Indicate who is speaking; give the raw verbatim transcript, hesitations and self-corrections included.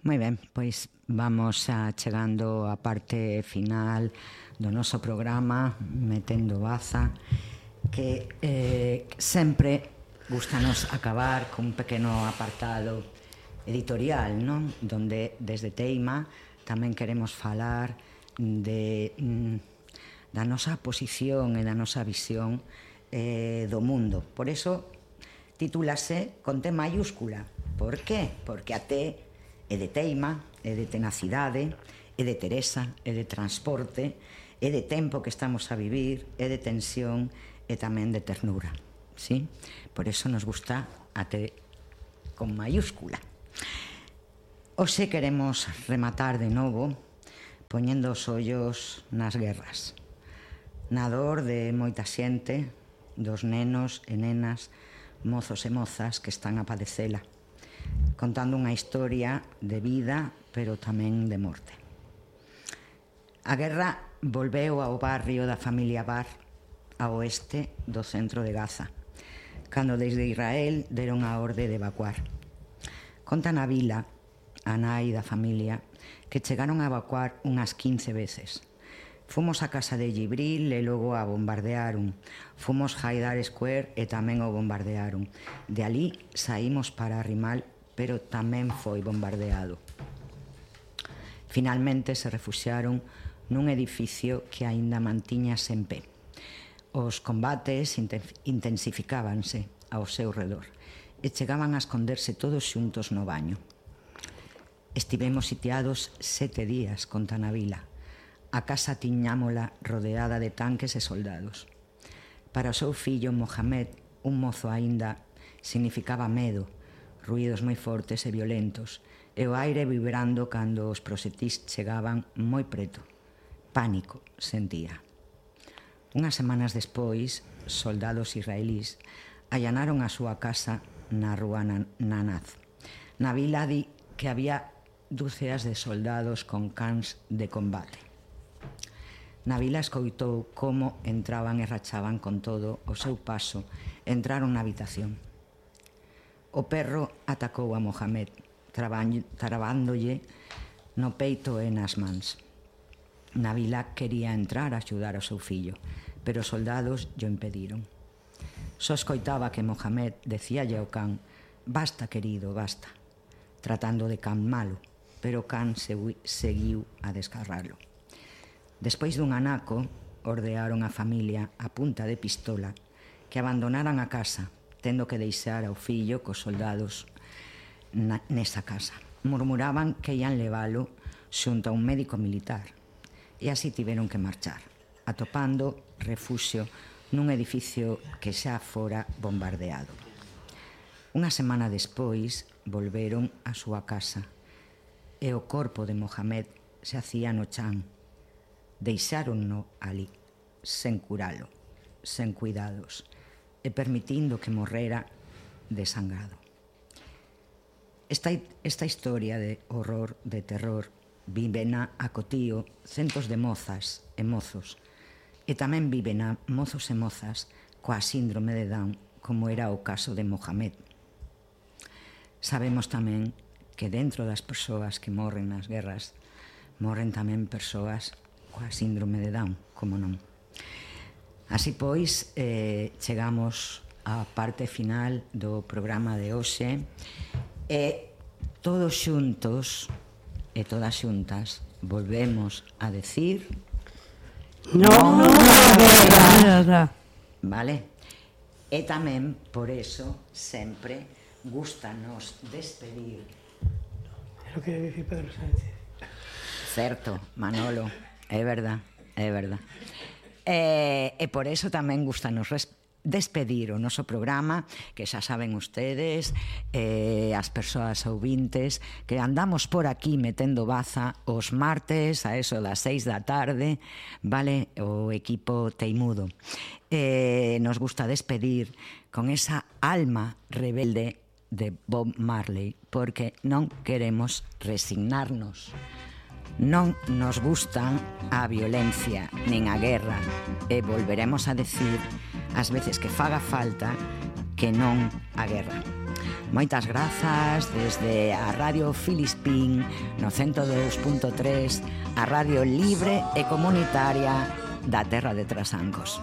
Speaker 1: Moi ben, pois vamos a chegando á parte final do noso programa Metendo Baza, que eh, sempre gustanos acabar con un pequeno apartado editorial, non? Donde desde Teima tamén queremos falar de, mm, da nosa posición e da nosa visión eh, do mundo. Por eso titúlase con T mayúscula. Por qué? Porque a T é de teima, é de tenacidade, é de Teresa, é de transporte, é de tempo que estamos a vivir, é de tensión e tamén de ternura. ¿Sí? Por eso nos gusta a T con mayúscula. Hoxe queremos rematar de novo poñendo os ollos nas guerras, na dor de moita xente, dos nenos e nenas, mozos e mozas que están a padecela, contando unha historia de vida, pero tamén de morte. A guerra volveu ao barrio da familia Bar, a oeste do centro de Gaza, cando desde Israel deron a orde de evacuar. Conta na vila, a nai da familia, que chegaron a evacuar unhas quince veces. Fomos a casa de Gibril e logo a bombardearon. Fomos a Haidar Square e tamén o bombardearon. De alí saímos para Rimal, pero tamén foi bombardeado. Finalmente se refuxiaron nun edificio que aínda mantiñase en pé. Os combates intensificábanse ao seu redor e chegaban a esconderse todos xuntos no baño. Estivemos sitiados sete días, conta na vila. A casa tiñámola rodeada de tanques e soldados. Para o seu fillo Mohamed, un mozo aínda, significaba medo, ruídos moi fortes e violentos, e o aire vibrando cando os proxectís chegaban moi preto. Pánico sentía. Unhas semanas despois, soldados israelís allanaron a súa casa na rúa Nanaz. Na vila di que había dúceas de soldados con cans de combate. Na vila escoitou como entraban e rachaban con todo o seu paso, entraron na habitación. O perro atacou a Mohamed, trabándolle no peito e nas mans. Na vila quería entrar a axudar ao seu fillo, pero os soldados lle impediron. Só escoitaba que Mohamed decíalle ao can: basta, querido, basta, tratando de can malo, pero o can seguiu a desgarralo. Despois dun anaco, ordearon a familia a punta de pistola que abandonaran a casa, tendo que deixar ao fillo cos soldados na, nesa casa. Murmuraban que ian leválo xunto a un médico militar, e así tiveron que marchar, atopando refuxio nun edificio que xa fora bombardeado. Unha semana despois volveron á súa casa e o corpo de Mohamed se hacía no chan. Deixáronno ali, sen curalo, sen cuidados, e permitindo que morrera desangrado. Esta, esta historia de horror, de terror, vivena a cotío centos de mozas e mozos, e tamén viven a mozos e mozas coa síndrome de Down, como era o caso de Mohamed. Sabemos tamén que dentro das persoas que morren nas guerras morren tamén persoas coa síndrome de Down, como non. Así pois, eh, chegamos á parte final do programa de hoxe e todos xuntos e todas xuntas volvemos a decir
Speaker 2: non a guerra.
Speaker 1: Vale? E tamén, por eso, sempre gústanos despedir.
Speaker 2: É o que dicir Pedro Sánchez.
Speaker 1: Certo, Manolo, é verdad, é verdad. E, e por eso tamén gústanos despedir o noso programa, que xa saben ustedes, eh, as persoas ouvintes, que andamos por aquí metendo baza os martes a eso das seis da tarde, vale, o equipo teimudo. Eh, nos gusta despedir con esa alma rebelde de Bob Marley, porque non queremos resignarnos. Non nos gusta a violencia nin a guerra, e volveremos a decir as veces que faga falta que non a guerra. Moitas grazas desde a Radio Filispín no cento dous punto tres, a radio libre e comunitaria da terra de Trasancos.